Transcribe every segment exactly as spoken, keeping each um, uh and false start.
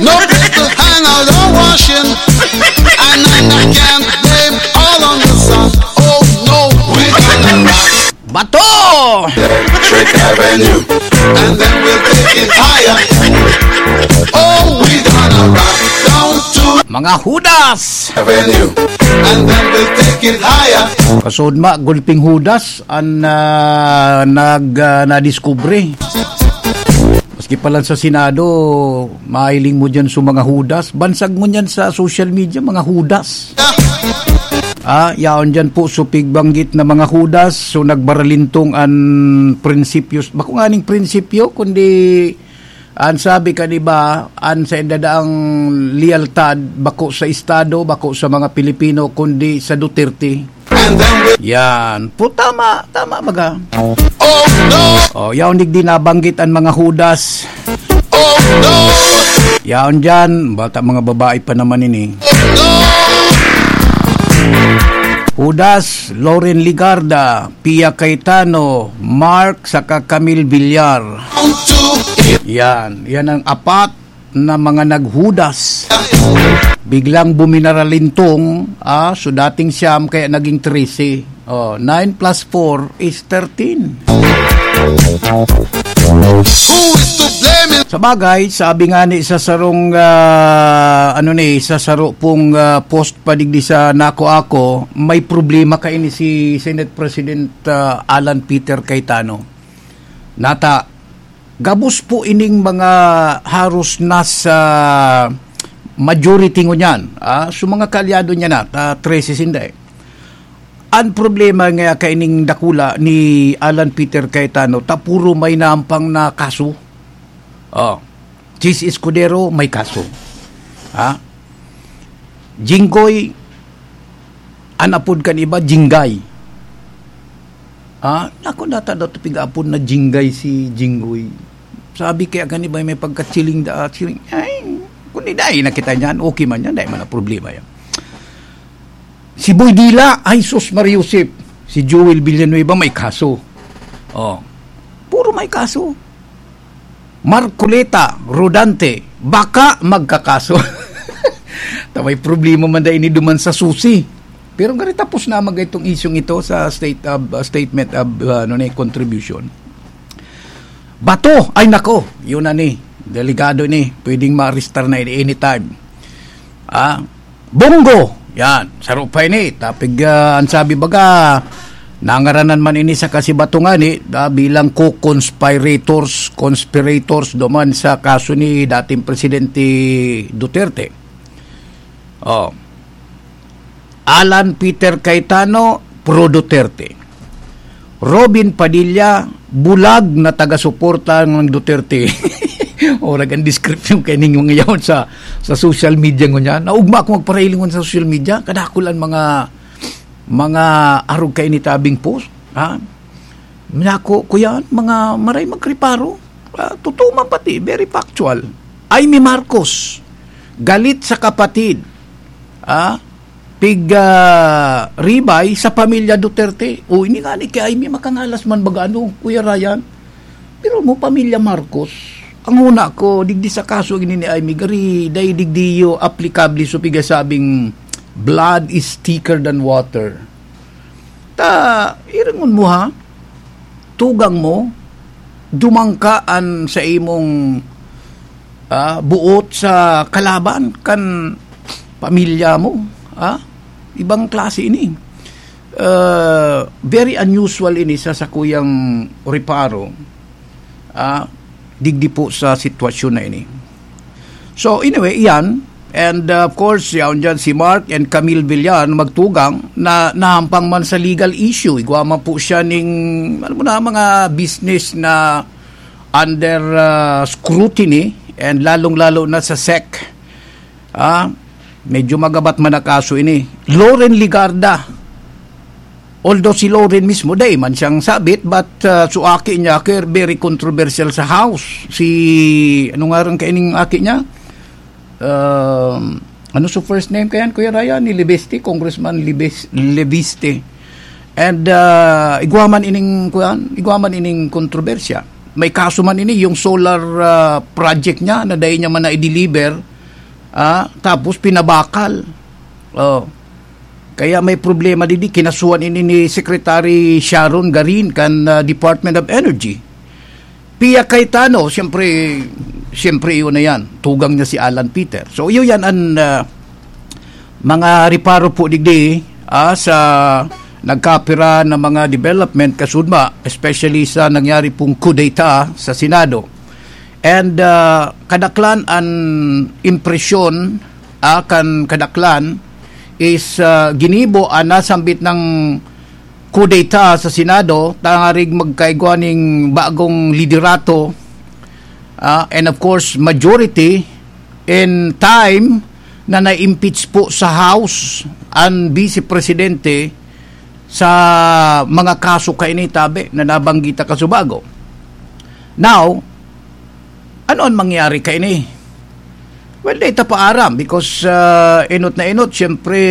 No place to hang out or washing. And I can't blame all on the sun. Oh no, we gonna rock. Bato! Trick Avenue. And then we'll take it higher. Oh, we gonna rock down to Mga Hudas! Avenue. And then we'll take it higher. Kasudma, gulping Hudas an, ah, nag, ah, nadiskubre. Maski pa lang sa Senado, mahiling mo dyan sa mga Hudas. Bansag mo dyan sa social media, mga Hudas. Ah, yaon dyan po, supig banggit na mga Hudas. So, nagbaralintong an prinsipyos. Bako nga ning prinsipyo, kundi an sabi ka, di ba, an sa indadaang lealtad, bako sa Estado, bako sa mga Pilipino, kundi sa Duterte. And then we Yan. Po, tama. Tama, baga. Oh no! Oh, yaon digdi nabanggit an mga Hudas. Oh no! Yaon dyan. Bata mga babae pa naman ini. Oh no! Hudas, Loren Legarda, Pia Cayetano, Mark, saka Camille Villar. Down to Yan. Yan ang apat na mga naghudas. Biglang buminaralintong, ah, so dating siyam, kaya naging trese. Oh, nine plus four is thirteen. Who is to blame? Sa bagay, sabi nga ni sa sarong, ah, ano ni, sa saro pong, ah, post pa digdi sa Nako Ako, may problema kaini si Senate President, ah, Alan Peter Cayetano. Nata, gabos po ining mga haros nasa majority ngunyan, ah, so mga kaalyado niya na, ta trese sinda eh. Ang problema nga kaining dakula ni Alan Peter Cayetano, ta puro may nampang na kaso. Oh, Chiz Escudero may kaso. Ha? Jinggoy, an apod kan iba, Jinggay. Ah, naku, nata daw piga-apod na Jinggay si Jinggoy. Sabi kaya kan iba, may pagkachiling da, chiling. Ay, kundi dai na kita niyan, okay man yan, dai man ang problema yan. Si Boy Dila, ay sus, Mariusip. Si Joel Villanueva may kaso. Oh, puro may kaso. Marcoleta, Rodante, baka magkakaso. Ta may problema man dai ini duman sa susi. Pero ngari tapos na mag itong isyung ito sa state of, uh, statement of, uh, ano na, contribution. Bato, ay nako, yun na ni. Delikado ni, pwedeng ma-arrestar na ini anytime. Ah, Bongo, yan, saro pa ini. Tapig, ah, ang sabi baga, nangaranan man ini sa kasibatungan eh, ah, bilang co-conspirators, conspirators duman sa kaso ni dating Presidente Duterte. Oh. Alan Peter Cayetano, pro Duterte. Robin Padilla, bulag na taga-suporta ng Duterte. Orag ang description kay ning mga yaon sa, sa social media ngunyan. Naugma ako magparahilingon sa social media, kadakul ang mga, mga arog kay nitabing post. Ha? Nako, kuyan, mga maray magreparo. Ah, totoo man pati, very factual. Imee Marcos, galit sa kapatid. Ah, pig, ah, ribay sa pamilya Duterte. O, ini nga ni kay Imee makangalas man baga, ano, Kuya Ryan? Pero mo, pamilya Marcos, ang una ko, digdi sa kaso ini ni Imee, gari, dai digdi yo aplikable so pigasabing blood is thicker than water. Ta, iringon mo ha, tugang mo, dumangka an sa imong, ah, buot sa kalaban kan pamilya mo, ah, ibang klase ini. Ah, very unusual ini sa sakuyang reparo, ah, digdi po sa sitwasyon na ini. So, anyway, iyan. And, uh, of course, yaon dyan si Mark and Camille Villar na magtugang na nahampang man sa legal issue. Igwa man po siya ning, alam mo na, mga business na under, uh, scrutiny and lalong-lalo na sa sec. Ah, medyo magabat man ang kaso ini. Loren Legarda. Although si Loren mismo, dai man siyang sabit, but, uh, so aki niya, kaya very controversial sa House. Si, ano nga rin kaining aki niya? Um, ano so first name kayan, Kuya Ryan? Ni Libeste, Congressman Libes-, Libeste. And, uh, igwa man ining, kuyan, igwa man ining kontrobersya. May kaso man ini, yung solar, uh, project niya na dai niya man na-deliver, Ah, tapos pinabakal. Oh. Kaya may problema didi, kinasuhan ini ni Secretary Sharon Garin kan, ah, Department of Energy. Pia Cayetano, siyempre, siyempre yun na yan. Tugang niya si Alan Peter. So, yun yan ang, ah, mga reparo po digdi, ah, sa nagkapira na mga development kasudma, especially sa nangyari pong coup d'etat sa Senado. And, ah, kadaklan an impresyon, ah, kan kadaklan is, ah, ginibo an nasambit ng coup d'etat sa Senado tangarig magkaigwa ning bagong liderato, ah, and of course, majority in time na na-impeach po sa House an Vice Presidente sa mga kaso kaini tabi na nabanggit ta kasubago. Now, ano ang mangyari kaini? Well, di ta paaram because, ah, enot na enot, siyempre,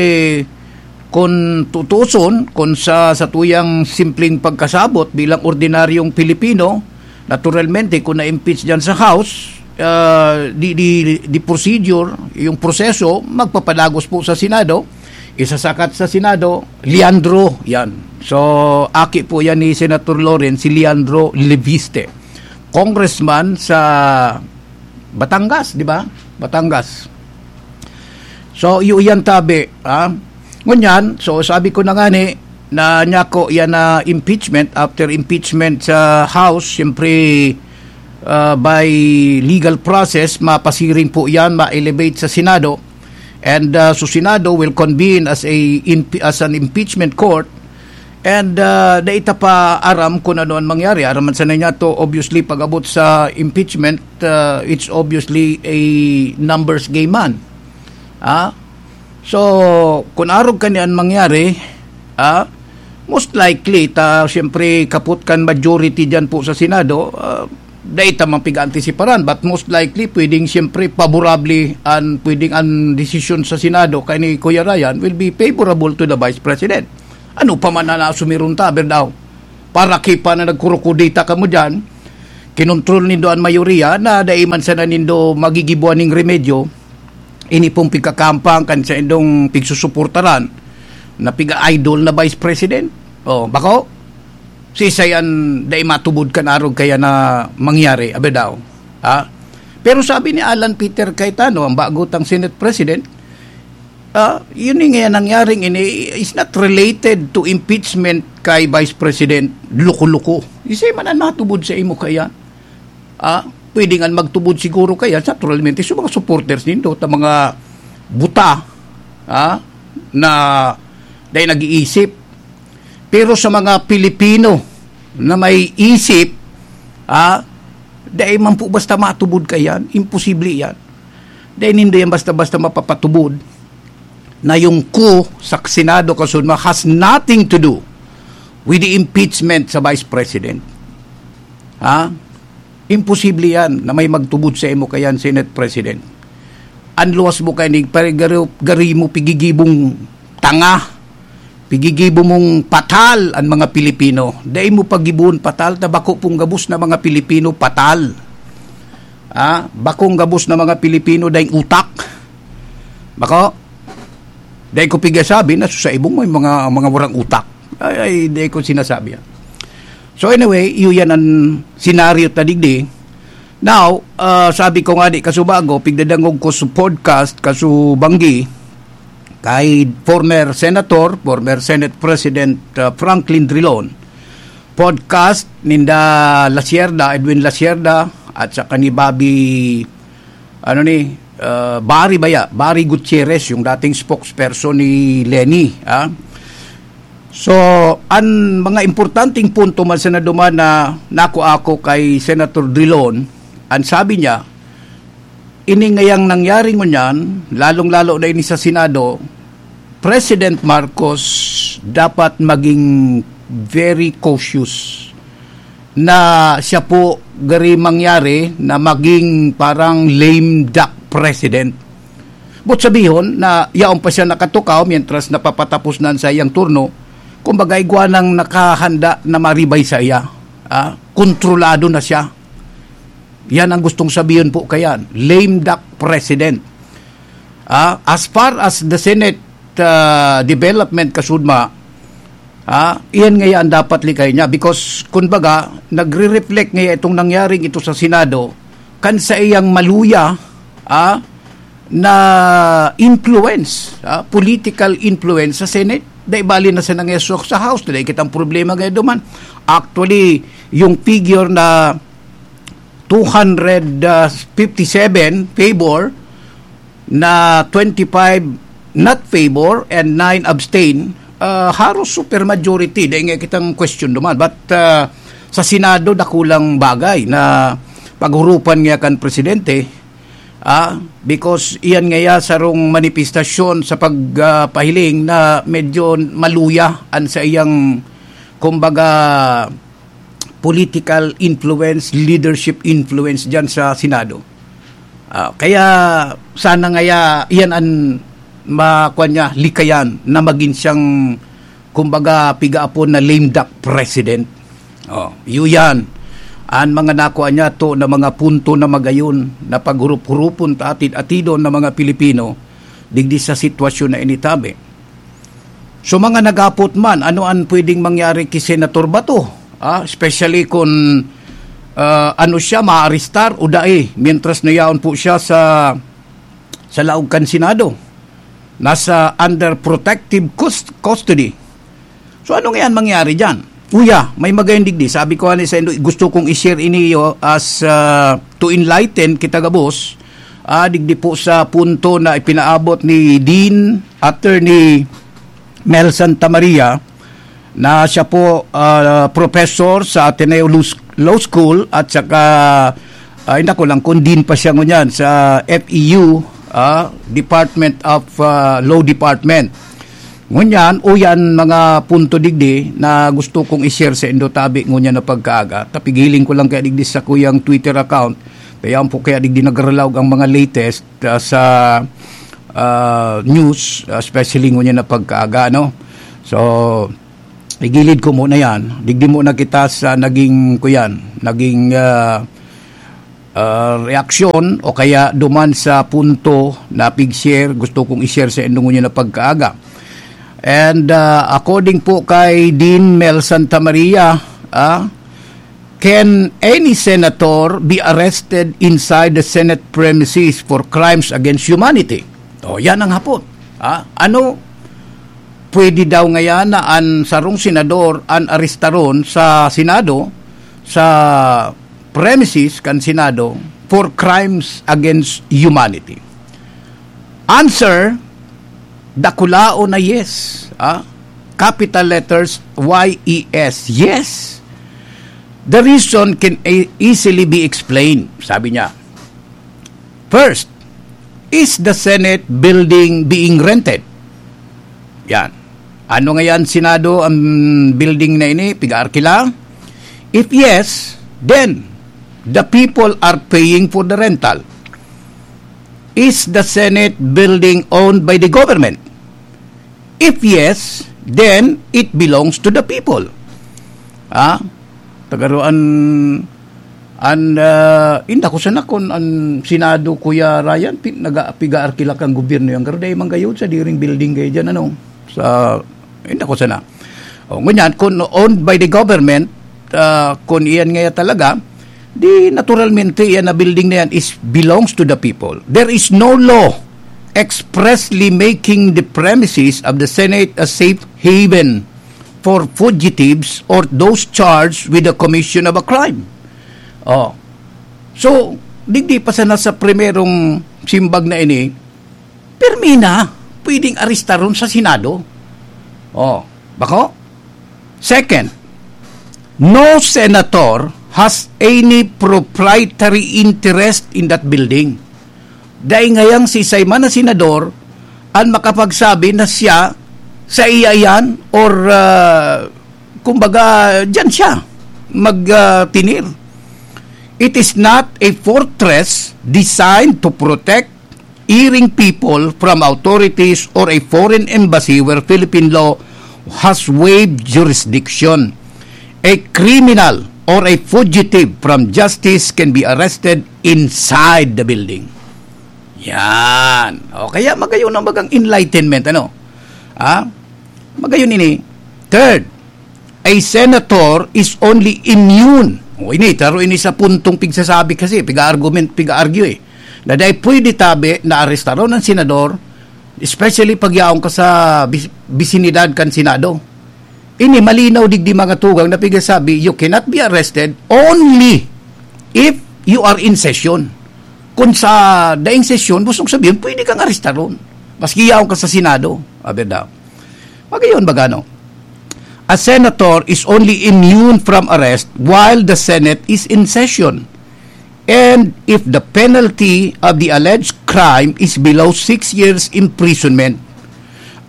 kung tutuson, kung sa, sa tuyang simpleng pagkasabot bilang ordinaryong Pilipino, naturalmente, kung na-impeach dyan sa House, ah, di, di, di procedure, yung proseso, magpapadagos po sa Senado, isasakat sa Senado, Leandro, yan. So, aki po yan ni Senator Loren, si Leandro Leviste. Congressman sa Batangas, di ba? Batangas. So, iyo yan tabi, ha? Ngunyan, so sabi ko na nga ni, na nyako yan na impeachment, after impeachment sa House, siyempre, ah, by legal process, mapasiring po yan, ma-elevate sa Senado. And, ah, so Senado will convene as a imp-, as an impeachment court. And, ah, dai ta pa aram kung ano ang mangyari. Aram man sana niya to, obviously, pag-abot sa impeachment, ah, it's obviously a numbers game man. Ah? So, kung arog kani an mangyari, ah, most likely, ta, siyempre, kapot kan majority dyan po sa Senado, ah, dai ta man piga-antisiparan, but most likely, pwedeng, siyempre, favorable an, pwedeng an desisyon sa Senado kay ni Kuya Ryan will be favorable to the Vice President. Ano pa man na nasumiron ta, Berdaw? Para kipa na nagkurukudita kamo dyan, kinontrol nindo an mayoriya na dai man sana nindo magigibuan ning remedyo, ini pong pigkakampang kan sa indong pigsusuportaran na piga-idol na Vice President. Oh, bako? Sisay an dai matubod kan arog kaya na mangyari, abi daw. Ha? Pero sabi ni Alan Peter Cayetano, ang bago tang Senate President, ah, yun yung nga nangyaring ini is not related to impeachment kay Vice President Loko-Loko. Isay man ang natubod sa imo kaya? Ah, pwede nga magtubod siguro kaya, naturalmente, sa mga supporters nindo, ta mga buta, ah, na dahil nag-iisip. Pero sa mga Pilipino na may isip, ah, dahil man po basta matubod ka yan, imposible yan. Dahil hindi yan basta-basta mapapatubod na yung coup sa Senado kasunod has nothing to do with the impeachment sa Vice President. Ha? Imposible yan na may magtubod sa imo kayan, Senate President. Ang luwas mo kay ni pare garo-, gari mo pigigibong tanga, pigigibo mong patal ang mga Pilipino. Dai mo pagibuon patal, ta bako pong gabos na mga Pilipino patal. Ah, bakong gabos na mga Pilipino daing utak. Bako, dai ko pigasabi na sa ibong may mga, mga warang utak. Ay, ay, dai ko sinasabi yan. So anyway, iyo yan ang senaryo ta digdi. Now, ah, sabi ko nga di kasubago, pigdadangog ko sa podcast, kasubanggi, kay former senator, former Senate President, ah, Franklin Drilon. Podcast ninda Lasierda, Edwin Lasierda, at saka ni Bobby, ano ni, ah, Barry baya, Barry Gutierrez, yung dating spokesperson ni Leni, ah. So, ang mga importanteng punto man sa naduman na nakuha ko kay Senator Drilon, ang sabi niya, ini ngayang nangyari ngunyan, lalong-lalo na ini sa Senado, President Marcos dapat maging very cautious na siya po gari mangyari na maging parang lame duck president. But sabihon na yaon pa siya nakatukaw mientras napapatapos na ang sayang turno, kumbaga igwa nang nakahanda na maribay sa iya. Ah, kontrolado na siya. Yan ang gustong sabihin po kayan. Lame duck president. Ah, as far as the Senate ah, development kasudma, ah, iyan ngaya ang dapat likay niya, because, kumbaga, nagre-reflect ngaya itong nangyaring ito sa Senado kan sa iyang maluya ah, na influence, ah, political influence sa Senate. Dai bali na sa nangyasok sa House, dai kitang problema ngayon duman. Actually, yung figure na two hundred fifty-seven favor, na twenty-five not favor and nine abstain, ah, haros super majority, dai nga kitang question duman. But ah, sa Senado, dakulang bagay na paghurupan niya kan presidente, ah, because iyan ngaya sarong manifestasyon sa pagpahiling na medyo maluya an sa iyang, kumbaga, political influence, leadership influence diyan sa Senado. Ah, kaya sana ngaya iyan an makuha niya, likayan na magin siyang, kumbaga, pigaapon na lame duck president. Oh, iyo yan. An mga nakuha niya to na mga punto na magayon na paghurup-hurupon ta atid-atidon na mga Pilipino digdi sa sitwasyon na initabi. So, mga nagapot man, ano an pwedeng mangyari ki Senator Bato? Ah, especially kung ah, ano siya, maarestar o dai, mientras na yaon po siya sa sa laog kan Senado. Nasa under protective cus- custody. So, ano ngayon mangyari diyan? Uya, may magayon digdi. Sabi ko ani sa indo, gusto kong i-share iniyo as ah, to enlighten kita gabos. Ah, digdi po sa punto na ipinaabot ni Dean Attorney Mel Santa Maria, na siya po ah, professor sa Ateneo Law Law School at saka, ah, hindi ko lang kung dean pa siya ngunyan sa F E U, ah, Department of ah, Law Department. Ngunyan, uyan mga punto digdi na gusto kong i-share sa indo tabi ngunyan na pagkaaga. Tapigiling ko lang kaya digdi sa kuyang Twitter account. Kaya po kaya digdi nagralaog ang mga latest ah, sa ah, news, especially ngunyan na pagkaaga, no? So, igilid ko muna yan. Digdi muna kita sa naging, kuyan, naging ah, ah, reaksyon o kaya duman sa punto na pig-share, gusto kong i-share sa indo ngunyan na pagkaaga. And ah, according po kay Dean Mel Santa Maria, ah, can any senator be arrested inside the Senate premises for crimes against humanity? O, yan ang hapot. Ah, ano, pwede daw ngayan na an sarong senador an arestaron sa Senado, sa premises kan Senado, for crimes against humanity? Answer, dakulaon na yes. Ah? Capital letters, Y E S. Yes. The reason can e- easily be explained, sabi niya. First, is the Senate building being rented? Yan. Ano ngayon, Senado, ang building na ini, piga-arkila? If yes, then the people are paying for the rental. Is the Senate building owned by the government? If yes, then it belongs to the people. Ah, tagaro an an ah, inda ko sana kun an Senado, Kuya Ryan, pi- naga piga-arkila kan gobyerno yan, pero dai man gayod sa diring building kayo dyan, ano, sa inda ko sana. O, ngunyan, kung owned by the government, ah, kung iyan ngaya talaga, di naturalmente iyan na building na yan is belongs to the people. There is no law expressly making the premises of the Senate a safe haven for fugitives or those charged with the commission of a crime. Oh. So, digdi pa sana sa primerong simbag na ini, pirmi na, pwedeng arestaron sa Senado. Oh, bako? Second, no senator has any proprietary interest in that building. Dai ngayang si Simon na senador an makapagsabi na siya sa iya yan or ah, kumbaga dyan siya magtinir. It is not a fortress designed to protect erring people from authorities or a foreign embassy where Philippine law has waived jurisdiction. A criminal or a fugitive from justice can be arrested inside the building. Yan. O kaya magayon ang bagang enlightenment, ano? Ha? Magayon ini. Third, a senator is only immune. O ini, taro ini sa puntong pigsasabi kasi, piga-argument, piga-argue eh. Na dai pwede tabi na arestaron ang senador, especially pag yaon ka sa bis- bisinidad kan Senado. Ini malinaw digdi mga tugang na pigasabi, you cannot be arrested only if you are in session. Kung sa daing sesyon, busog sabihin, pwede kang arestaron. Maski yaon ka sa Senado. Abi daw. Magayon ba gano? A senator is only immune from arrest while the Senate is in session. And if the penalty of the alleged crime is below six years imprisonment,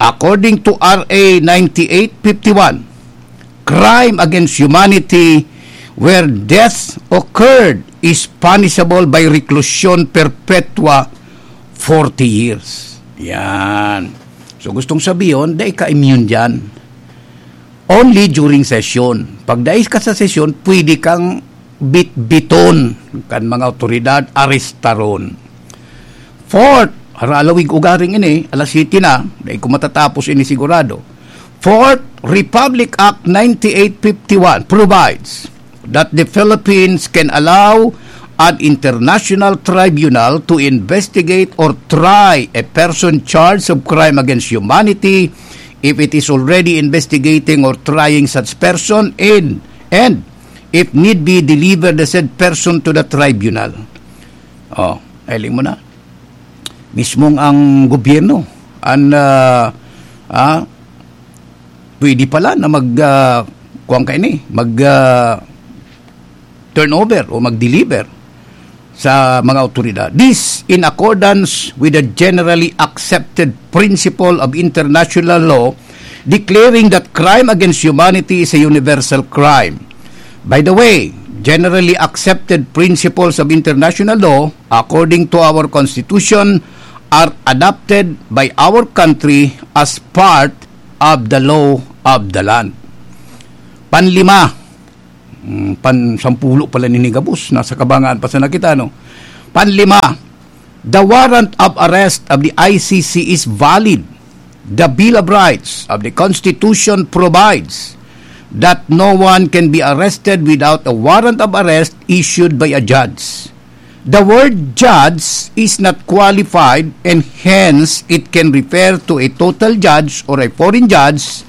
according to R A ninety-eight fifty-one, crime against humanity where death occurred is punishable by reclusion perpetua, forty years. Yan. So gustong sabihin, dai ka immune dyan. Only during session. Pag dai ka sa sesyon, pwede kang bitbiton kan mga otoridad, arestaron. Fourth, haralawig ugaring ini, alas siyete na, dai ko matatapos ini sigurado. Fourth, Republic Act ninety-eight fifty-one provides that the Philippines can allow an international tribunal to investigate or try a person charged of crime against humanity if it is already investigating or trying such person and, and if need be, deliver the said person to the tribunal. Oh, hiling mo na. Mismong ang gobyerno, an, ah, ah, pwede pala na mag, ah, kuwan ka ini, mag, ah, turnover o mag-deliver sa mga otoridad. This in accordance with the generally accepted principle of international law declaring that crime against humanity is a universal crime. By the way, generally accepted principles of international law, according to our Constitution, are adopted by our country as part of the law of the land. Panlima, mm, pan-, sampulo pala ni gabos, nasa kabangaan pa sana kita, no? Panlima, the warrant of arrest of the I C C is valid. The Bill of Rights of the Constitution provides that no one can be arrested without a warrant of arrest issued by a judge. The word judge is not qualified and hence it can refer to a total judge or a foreign judge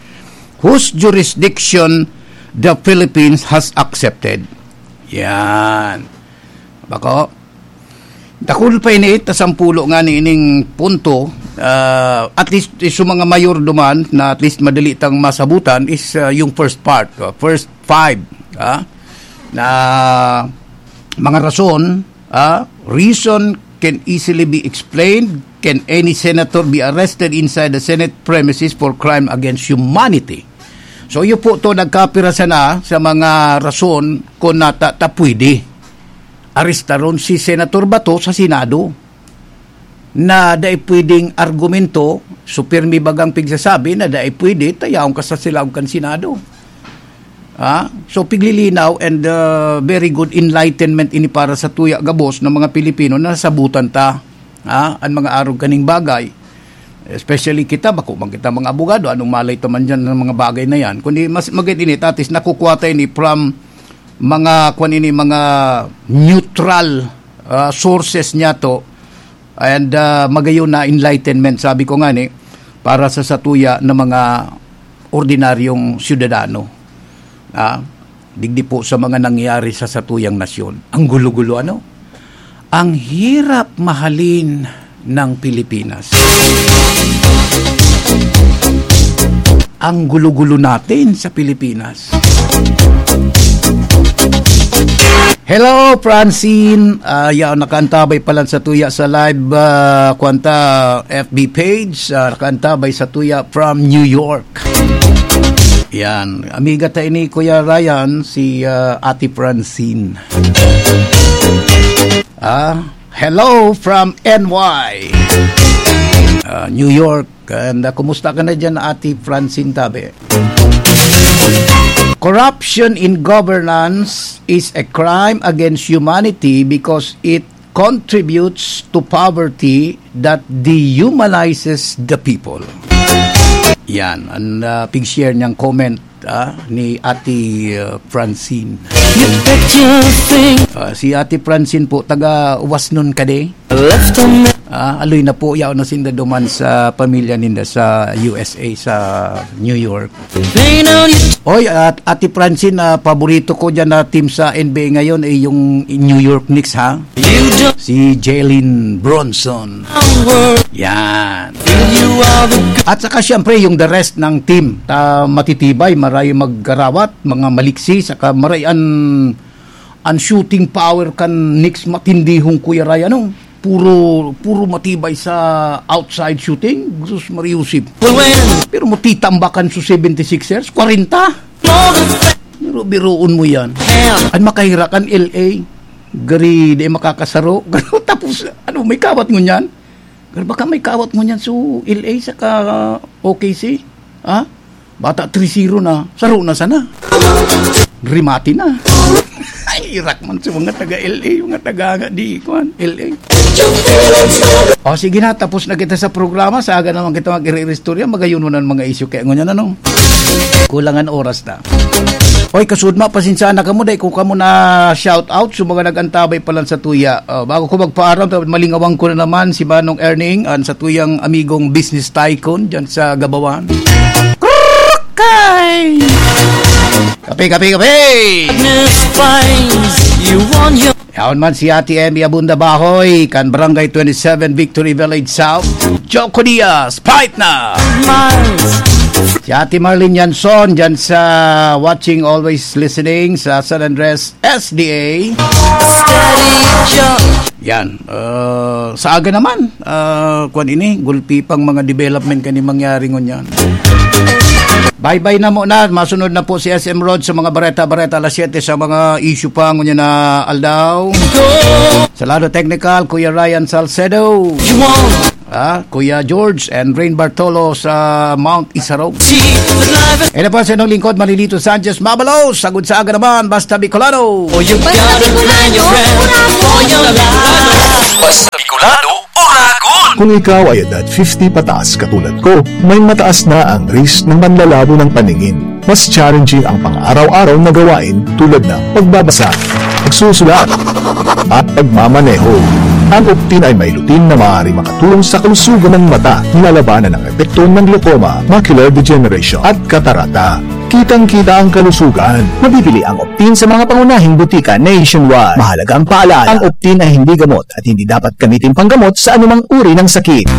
whose jurisdiction the Philippines has accepted. Yan. Bako, dakul pa ini, ta sampulo nga ni ining punto, ah, at least, eh, sa mga mayor duman na at least madali tang masabutan is, ah, yung first part, ah, first five, ah, na mga rason, ah, reason can easily be explained. Can any senator be arrested inside the Senate premises for crime against humanity? So, iyo po to nagkapira sana sa mga rason kung nata-, ta pwede arestaron si Senator Bato sa Senado na dai pwedeng argumento, so pirmi bagang pigsasabi na dai pwede, ta yaon ka sa silaog kan Senado. Ah, so piglilinaw and, uh, very good enlightenment ini para sa tuya gabos ng mga Pilipino na nasabutan ta, ah, ang mga arog kaning bagay. Especially kita, bako man kita mga abogado, anong malay ta man dyan ng mga bagay na yan. Kundi mas maganda ini, tatis nakukuha tayo ni from mga, kwan ini, mga neutral, ah, sources niya to. And, ah, magayon na enlightenment, sabi ko nga ni, para sa satuya na mga ordinaryong syudadano. Ah, digdi po sa mga nangyayari sa satuyang nasyon. Ang gulo-gulo, ano? Ang hirap mahalin ng Pilipinas. Ang gulo-gulo natin sa Pilipinas. Hello, Francine. Ah, yaw, nakaantabay pala sa tuya sa live, ah, kwanta F B page. Ah, nakaantabay sa tuya from New York. Yan. Amiga ta ini, Kuya Ryan, si, ah, Ate Francine. Ah, hello from N Y. Ah, New York. And, ah, kumusta ka na dyan, Ate Francine Tabe? Corruption in governance is a crime against humanity because it contributes to poverty that dehumanizes the people. Yan, ang uh, pig-share niyang comment uh, ni Ate uh, Francine. Uh, si Ate Francine po, taga Wasnon Kade. Uh, aloy na po, yaon na sinda duman sa pamilya ninda sa U S A, sa New York. Oy, at Ate Francine, uh, paborito ko dyan na team sa N B A ngayon ay yung New York Knicks, ha? Si Jalen Brunson. Yan. At saka siyempre yung the rest ng team. Uh, matitibay, maray maggarawat, mga maliksi, saka maray an, an shooting power kan Knicks matindihong Kuya Ray, ano? Puro, puro matibay sa outside shooting. Jesus Mariusip. Pero mo titambakan sa seventy-sixers, kwarenta. Biro-biroon mo yan. Ang makahira kan L A. Gari, di makakasaro. Tapos, ano, may kawat ngunyan? Pero baka may kawat ngunyan sa L A saka O K C. Ha? Bata three zero na. Saro na sana. Rimati na. Ay, irak man sa mga taga-L A, mga taga nga di, kuwan, L A. O sige na, tapos na kita sa programa. Sa aga naman kita mag-iri-istorya, magayuno na ang mga isyu. Kaya ngunyan, ano? Kulangan oras na. Oy, kasudma, pasensya na kamo, dai ko kamo na shout out sa mga nag-antabay pa lang sa tuya. Oh, bago ko magpaaram, malingawang ko na naman si Manong Erning, an sa tuyang amigong business tycoon dyan sa Gabawan. Kay! Kape, kape, kape! Darkness finds you on your Yaon man si Ate Emmy Abunda Bahoy, kan Barangay twenty-seven, Victory Village South. Choco Diaz, fight na! Miles. Si Ate Marlene Yanson, dyan sa watching, always listening sa San Andres S D A. Steady Joe. Yan. Uh, sa aga naman, uh, kwan ini, gulpi pang mga development kani mangyari ngunyan. Bye-bye na muna. Masunod na po si S M Rod sa mga bareta-bareta alas siyete sa mga issue pa ngunyan na aldaw. Sa lado technical, Kuya Ryan Salcedo. Ah, Kuya George and Rain Bartolo sa Mount Isarog. Ito po sa inyong lingkod, Manilito Sanchez Mabalos. Sagod sa aga naman, basta Bicolano. Basta Bicolano, Uragon! Basta Bicolano, Uragon! Kung ikaw ay edad fifty pataas katulad ko, may mataas na ang risk ng manlalabo ng paningin. Mas challenging ang pang-araw-araw na gawain tulad ng pagbabasa, pagsusulat, at pagmamaneho. Ang Optin ay may lutein na maaaring makatulong sa kalusugan ng mata, nilalabanan ang epekto ng glaucoma, macular degeneration, at katarata. Kitang-kita ang kalusugan. Mabibili ang Optin sa mga pangunahing butika nationwide. Mahalagang paalala, ang Optin ay hindi gamot at hindi dapat gamitin panggamot sa anumang uri ng sakit.